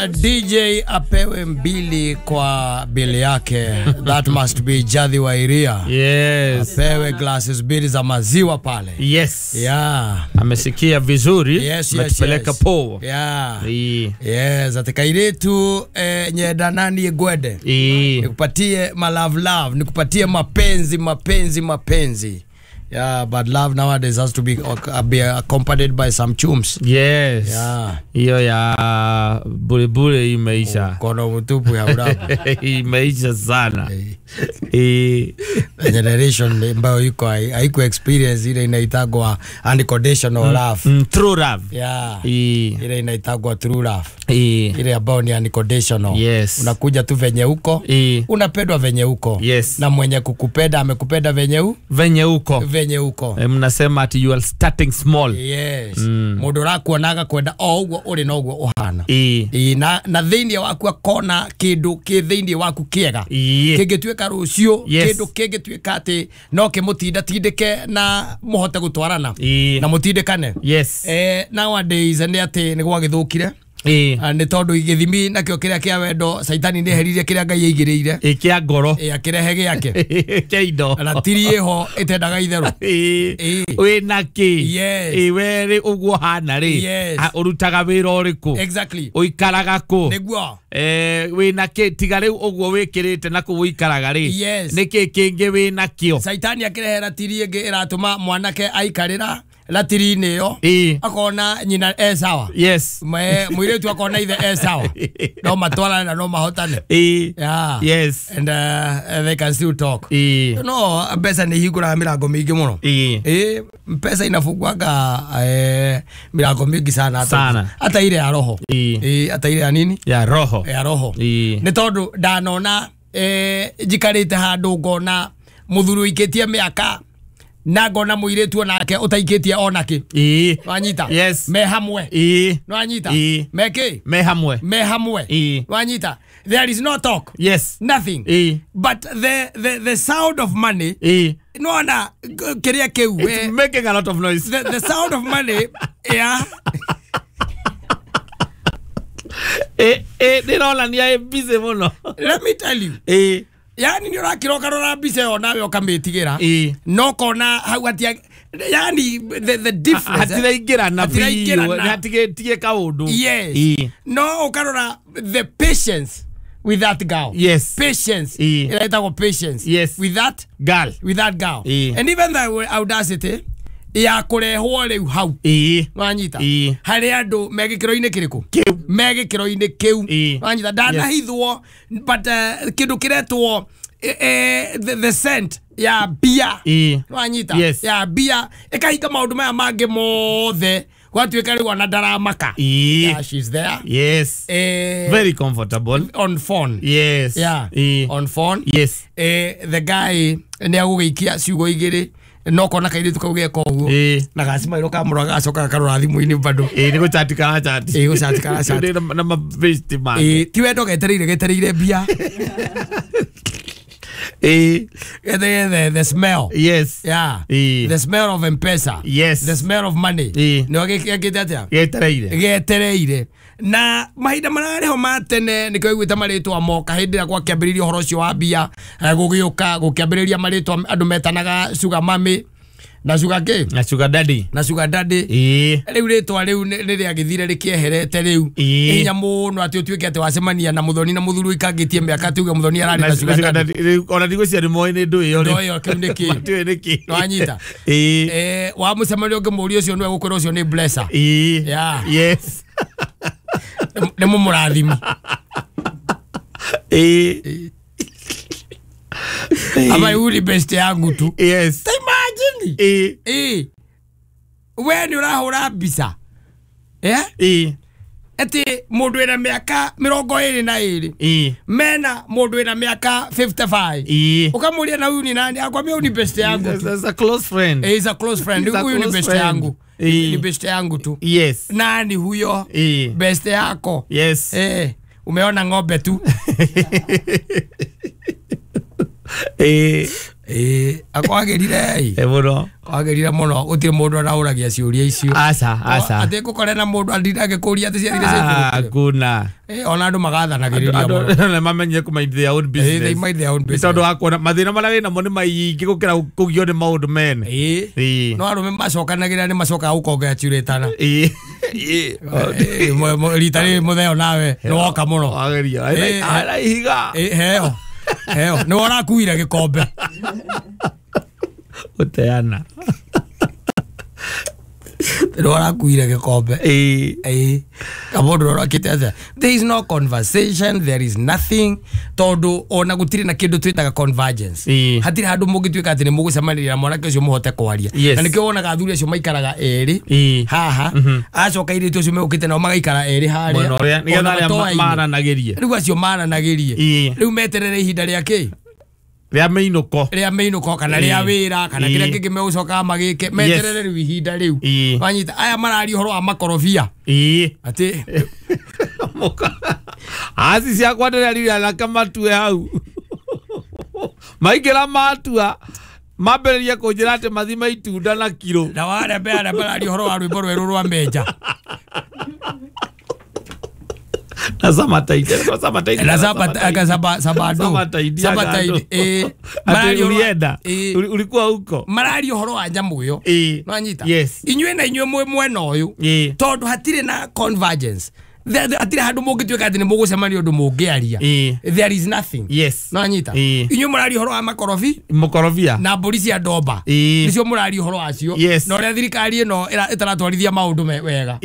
DJ apewe mbili kwa bili yake. That must be Jadhi wa Iria. Yes. Apewe glasses mbili za maziwa pale. Yes. Yeah. Amesikia vizuri. Yes, yes, Ametupeleka yes. poa. Yeah. Yes, atakairetu nyenda nani gwede. Nikupatie ma love love, nikupatie mapenzi mapenzi mapenzi. Yeah, but love nowadays has to be accompanied by some chums. Yes. Yeah. Hiyo ya bure bure imeisha. Mkono mtupu ya urabu. Imeisha sana. Generation ambayo iko haiko experience ile inaitagwa unconditional love. True love. Yeah. Ile inaitagwa true love. Ile ambayo ni unconditional. Yes. Unakuja tu venye uko. Unapendwa venye uko. Yes. Na mwenye kukupenda amekupenda venye u? Venye uko. Venye uko. Mnasema ati you are starting small. Yes. Mundu rakuonaga kwenda o uguo uri no uguo uhana. Na thiini waku akona kindu ki thiini waku kiega. Kingituika rucio, kindu kingituika ati no kimutinda tindike na muhote gutwarana. Na mutindikane. Yes. Nowadays ni ati ni gwagithukire. Nĩ tondũ gĩthimi nakĩo kĩrĩa kĩa wendo Saitani nĩ eheririe kĩrĩa Ngai aigĩrĩire kĩa ngoro akĩrehe gĩake kĩa indo ratiri ĩho ĩtendaga itherũ wĩna kĩ Yes. We rĩ ũguo hana rĩ Yes. Ũrutaga wĩra ũrĩkũ Exactly. Ũikaraga kũ nĩguo wĩna kĩ tiga rĩu ũguo wĩkĩrĩte na kũu ũikaraga rĩ Yes. nĩkĩ kĩngĩ wĩna kĩo Saitani akĩrehe ratiri ĩngĩ ĩratũma mwanake aikarĩra ratiri-inĩ ĩyo akona nyina e sawa. Yes. Mũirĩtu akona ithe e sawa no matwarane na no mahotane. Yeah. Yes. And they can still talk. You know, mbeca nĩ ihingũraga mĩrango mĩingĩ mũno. Mbeca inafunguaga mĩrango mĩingĩ sana sana. Hata ile ya roho. Hata ile ya nini? Ya roho. Ya roho. Nĩ tondũ ndanona njikarĩte handũ ngona mũthuri ũikĩtie mĩaka na ngona mũirĩtu onake ũtaikĩtie onake. Wanyita? Yes. Me hamwe. Wanyita? Me kĩ? Me hamwe. Me hamwe. Wanyita? There is no talk. Yes. Nothing. But the sound of money. No na kĩrĩa kĩu. It's making a lot of noise. The sound of money. Yeah. Ndĩronania ĩ busy mũno. Let me tell you. Yani ni ũrakiroka rora mbica ĩyo nawe ũkamĩtigĩra no kona hau atia yani the difference hatiraingĩrana biũ hatigetie kaũndũ. Yes. No ũkarora the patience with that girl. Yes. Patience. Ĩretagwo patience. Yes. With that girl. With that girl. And even the audacity ya kũrehwo rĩu hau wanyita harĩ andũ me gĩkĩro-inĩ kĩrĩkũ me gĩkĩro-inĩ kĩu wanyita ndanahithwo but kĩndũ kĩretwo the scent ya mbia wanyita ya mbia ĩkahinga maũndũ maya mangĩ mothe gwatuĩka rĩu ona ndaramaka. Yeah, she's there. Yes. Very comfortable on phone. Yes. Yeah. On phone. Yes. The guy nĩ agũgĩikia ciugo igĩrĩ no kona kairĩtu kau geka ũguo na gacimairwo kamũra gacoka gakarora thimũ-inĩ bado nĩ gũchati karachati gũchati karachati na mabesti make ti wendo getereire getereire mbia the smell. Yes. Yeah. The smell of M-Pesa. Yes. The smell of money. Nĩ gĩkĩte atĩa getereire getereire na mahinda mararĩho ma tene nĩkĩo iguĩte marĩtwa moka hĩndĩ ĩrĩa gwakĩambĩrĩria ũhoro ũcio wa mbia gũgĩũka gũkĩambĩrĩria marĩtwa andũ metanaga sugar mummy na sugar kĩ na sugar daddy na sugar daddy. Rĩu rĩtwa rĩu rĩrĩa gĩthire rĩkĩeherete rĩu hinya mũno atĩ ũtuĩke atĩ wacemania na mũthoni na mũthuri ũikangĩtie mĩaka tuge mũthoni ararĩ na sugar daddy ona ndigwĩciria nĩ moĩ nĩ ndũ ĩyo ndũ ĩyo kĩu nĩ kĩ matiũĩ nĩ kĩ nĩwanyita wamũcemania ũngĩmũria ũcio nĩwe gũkwĩra ũcio nĩ blesser. Yeah. Yes. Nĩ mũmũrathimi. Ama yule best yangu tu. Yes. Ta imagine. We nĩ ũrahũra mbica. Ati mũndũ wĩna mĩaka 22 mena mũndũ wĩna mĩaka 55 ũkamũria na huyu ni nani akwambia huyu ni best yangu tu. He's a close friend. He's a close friend. Huyu ni best yangu. Ni best yangu tu. Yes. Nani huyo? Best yako. Yes. Umeona ng'ombe tu. Akwagĩrire mũno. Kwagĩrire mũno gũtirĩ mũndũ araũragia ciũria icio. Aca aca. Atĩ ngũkore na mũndũ andinda agĩkũria atĩ ciathire ciaikũrũkire. Hakuna. Ona andũ magathanagĩrĩria mũno. Andũ mamenye kũ mind their own business. They mind their own Nĩ business. tondũ wa kuona mathĩna marĩa wĩnamo nĩ maingĩ gũkĩra kũgio nĩ maũndũ mene. No arũme macokanagĩrĩra nĩ macokaga gũcongratulate-ana. Rita rĩrĩ mũtheo nawe nĩ woka mũno. Wageria. Ara ihiga. Heo. Heo. Nĩ ũrakuire gĩkombe. Gũteana. Nĩ ũrakuire gĩkombe. Kamũndũ ũrakĩte atĩa? There is no conversation, there is nothing. Tondũ ona gũtirĩ na kĩndũ twĩtaga convergence. Hatirĩ handũ mũngĩtuĩka atĩ nĩ mũgũcemanĩria na mwanake ũcio mũhote kwaria. Na nĩkĩo wonaga athuri acio maikaraga erĩ haha, acoka airĩtu acio megũkĩte nao magaikara erĩ harĩa. Mwena ũrĩa nĩgetha arĩa maranagĩrie. Rĩu acio maranagĩrie. Rĩu meterere ihinda rĩa kĩ? Rĩa mĩinũko. Rĩa mĩinũko kana rĩa wĩra kana kĩrĩa kĩngĩ megũcokaga magĩke meterere rĩu ihinda rĩu. Wanyita aya mararia ũhoro wa makorobia. Atĩ aci ciakwa ndĩrerire anake matue hau. Maingĩra matua mambĩrĩrie kũnjĩra atĩ mathime itunda na kiro. Na warembe arĩa mararia ũhoro wa rwĩmbo rwerũ rwa Menja. Na samataidi samataidi na sabado samataidi ati ulienda ulikuwa huko mararia ũhoro wa nyamũ ĩyo. Nwanyita inyuĩ na inyuĩ mwĩ mwena ũyũ tondũ hatirĩ na convergence. Hatirĩ handũ mũngĩtuĩka atĩ nĩ mũgũcemania ũndũ mũngĩaria. There is nothing. Nwanyita inyuĩ mũraria ũhoro wa makorobi makorobia na mbũri cia ndomba nĩcio mũraria ũhoro wacio na ũrĩa thirikari ĩno ĩtaratwarithia maũndũ wega.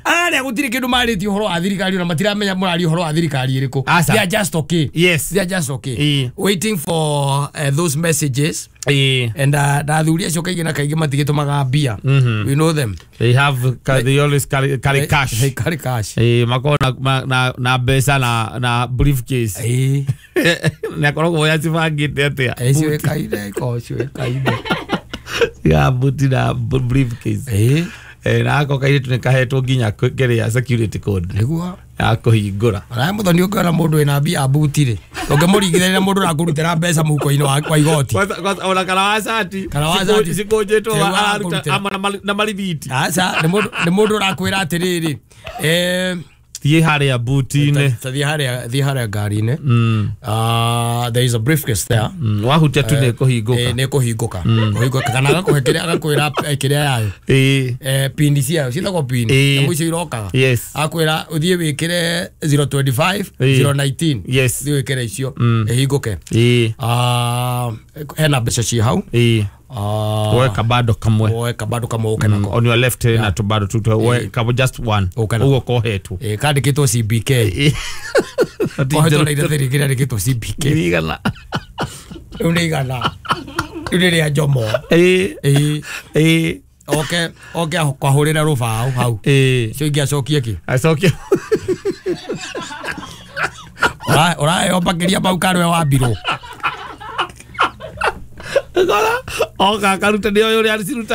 Arĩa gũtirĩ kĩndũ marĩtie ũhoro wa thirikari na matiramenya mũraria ũhoro wa thirikari ĩrĩkũ. They are just okay. They are just okay. Waiting for those messages. And na athuri acio kaingĩ na kaingĩ matigĩtũmaga mbia. We know them. They have they always carry cash. They carry cash. Makoragwo na mbeca na briefcase. Na akoragwo yacibangĩte atĩa? Ciũĩkaine ikoragwo ciũĩkaine. Ya buti na briefcase. Na ako kairĩtu nĩ kahetwo nginya kĩrĩa security code. Nĩguo ya kũhingũra. Ona mũthoni ũngĩona mũndũ wĩna mbia buti rĩ, ũngĩmũringithania na mũndũ ũrakũrutĩra mbeca mũhuko-inĩ wa igoti. Ona kana wa cati cikũnjĩtwo araruta na marithiti. Aca nĩ mũndũ ũrakwĩra atĩrĩrĩ, thiĩ harĩa buti-inĩ. Thiĩ harĩa ngari-inĩ. There is a briefcase there. Wahutia tu nĩ kũhingũka. Nĩ kũhingũka. Kũhingũka kana agakũhe kĩrĩa agakwĩra kĩrĩa yayo. Pini ciayo ciĩtagwo pini. Nyamũ icio irokaga. Akwĩra ũthiĩ wĩkĩre 025 019. Thiĩ wĩkĩre icio ĩhingũke. Hena mbeca ciĩ hau. Woe kabado kamwe. Woe kabado kamwe ũke nako. On your left na tubado tu woe kabo just one. Ũguo kohetwo. Kandĩkĩtwo CBK. Kohetwo na iratathi rĩngĩ rĩandĩkĩtwo CBK. Igana. Rĩu nĩ igana. Rĩu nĩ rĩa Njomo. Oke oke kwahũrĩra rũbaũ hau. Icio ingĩ acokie kĩ? Acokie. Ũraheo makĩria mau karwe wambirwo. Oka karuta nĩ ũyũ ũrĩa cirutaga.